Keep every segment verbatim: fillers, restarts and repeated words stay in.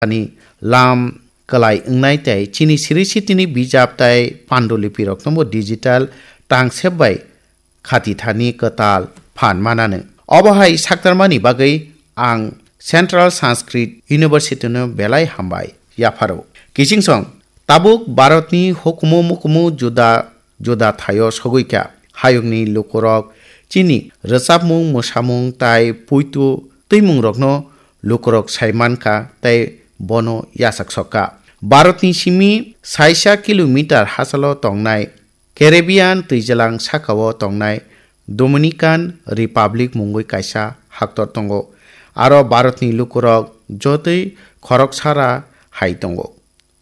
ani lam kwlai wngnai tei chini siri sitini bijap tei pandulipirokno bo digital tangsep bai khati thani kwtal phan mananw. Obo hai saktarmani bagwi ang Central Sanskrit University no belai hambai yapharo. Kiching song, tabuk Bharatni hukumu mukumu juda juda thaio sogwi kha. Hayungni lukurok chini rwchapmung, mwsamung tai puitu twimungrokno lukurok sai man kha tei bono yachak sok kha. Bharatni simi saisa kilometer hachalo tongnai Caribbean twijalang sakao tongnai Dominican Republic mungwi kaisa haktor tongo. Aro Bharatni lukurok jotoi khoroksara hai tongo.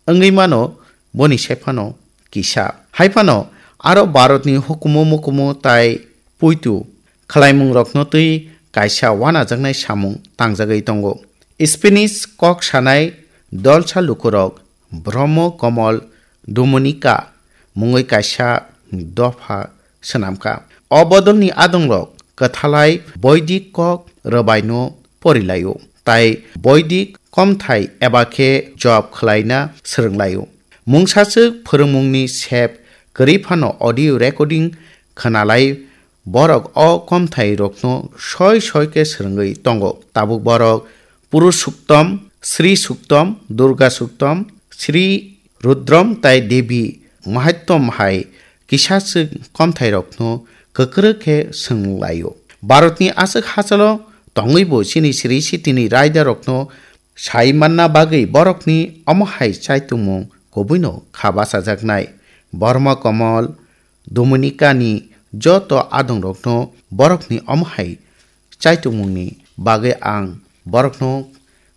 Wngwi mano boni sephano kisa. Haiphano aro Bharatni hukumu mukumu tai puitu khlaimungrokno twi kaisa wanajaknai samung tangjagwi tongo. Spanish kok sanai dolsa lukurok Brahmo Komol Dominica mungwi kaisa dopha swnamkha. O bodolni adongrok kwthalai Boidik kok rwbaino porilaio, tai Boidik komthai eba khe job khwlaina swrwnglaio. Mungsaswk phwrwngmungni sep kwrwi phano audio recording khwnalai borok o komthairokno soi soi khe swrwngwi tongo. Tabuk borok Purusuktom, Sri Suktom, Durga Suktom, Sri Rudrom tai Devi Mahattom hai kisaswk komthairokno kwkrwk khe swnglaio. Bharatni aswk hachalo tongwibo chini siri sitini raidarokno sai manna bagwi borokni omo hai chaitungmung kubuino kha bachajaknai. Borma Komol, Dominicani joto adongrokno borokni omo hai chaitungmungni bagwi ang borokno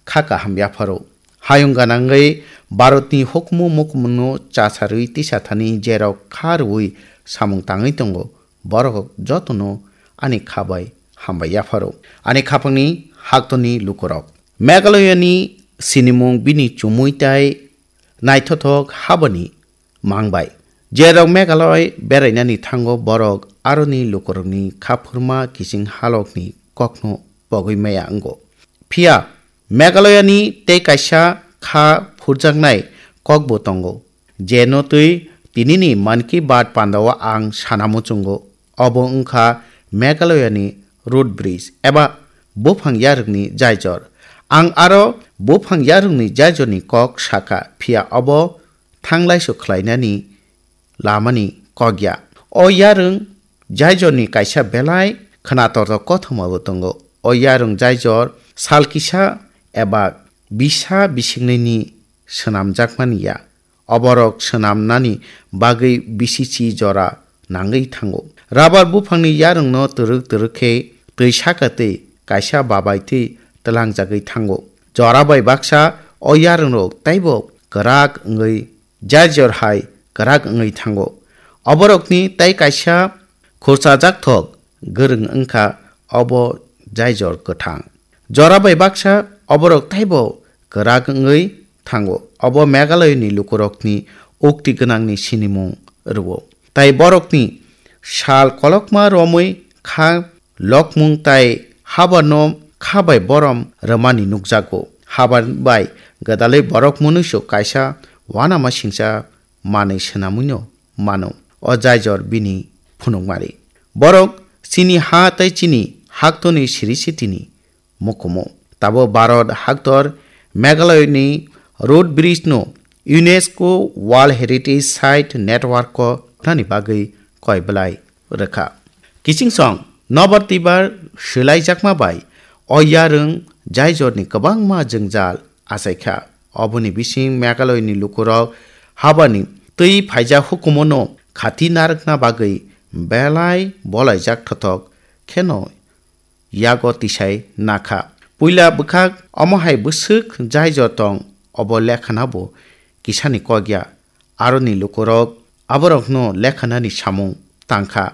kha kaham yapharo. Hayung ganangwi Bharatni hukumu mukumungno chasarwi tisathani jerok kha rwui samung tangwi tongo, borok jotono ani kha bai hambai yapharo. Ani khapangni haktorni lukurok. Meghalayani sinimung bini chumui tai naithothok habani mang bai. Jerok Meghalaya berainani thango borok aroni lukurokni khaphurma kiching halokni kokno pogwi maya wngo. Phiya Meghalayani tei kaisa kha phurjaknai kokbo tongo, jeno twi tinini Mann Ki Baat pandao ang sana muchungo. Obo wngkha Meghalayani Root Bridge eba buphang yarwkni jaijor. Ang aro buphang yarwkni jaijorni kok sakha, phiya obo thanglaisu khlainani lamani kok ya. O yarwng jaijorni kaisa belai khwnatortok kothomabo tongo. O yarwng jaijor sal kisa eba bisa bisingnini swnamjakmani ya. Oborok swnamnani bagwi bisichi jora nangwi thango. Rabar buphangni yarwngno twrwk twrwk khe twi saka twi kaisa babai twi twlangjagwi thango. Jora bai baksa o yarwngrok teibo kwrak wngwi jaijor hai kwrak wngwi thango. Oborokni tei kaisa khurchajak thok gwrwng wngkha obo jaijor kwthang. Jora bai baksa oborok teibo kwrak wngwi thango. Obo Meghalayani lukurokni ukti gwnangni sinimung rwo. Tai borokni sal kolokma romwi kha lokmung tai habarno kha bai borom rwmani nukjago. Habar bai gwdalwi borok munuisu kaisa uanama singcha manwi swnamwino mano. O jaijor bini phunukmari. Borok chini ha tei chini haktorni siri sitini mukumu. Tabo Bharat haktor Meghalayani Root Bridge no UNESCO World Heritage Site Network o nani bagwi koi belai rwkha. Kiching song nobar twibar swlaijakma bai o yarwng jaijorni kwbangma jwngjal achaikha. Oboni bising Meghalayani lukurok habani twi phaijak hukumono khati narwkna bagwi belai bolaijak thothok kheno yago tisai nakha. Puila bwkhak omo hai bwswk jaijor tong, obo lekhanabo kisani kokya. Aroni lukurok aborokno lekhanani samung tangkha.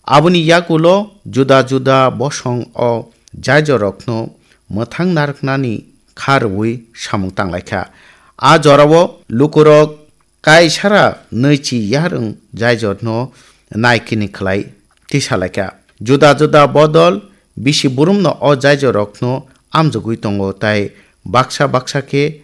Aboni yagulo juda juda bosong o jaijorokno mwthang narwknani kha rwui samung tanglaikha. A jorao lukurok kaisara nwichi yarwng jaijorno naikini khlai tisalaikha. Juda juda bodol bisi burumno o jaijorokno amjogwi tongo tai baksa baksa khe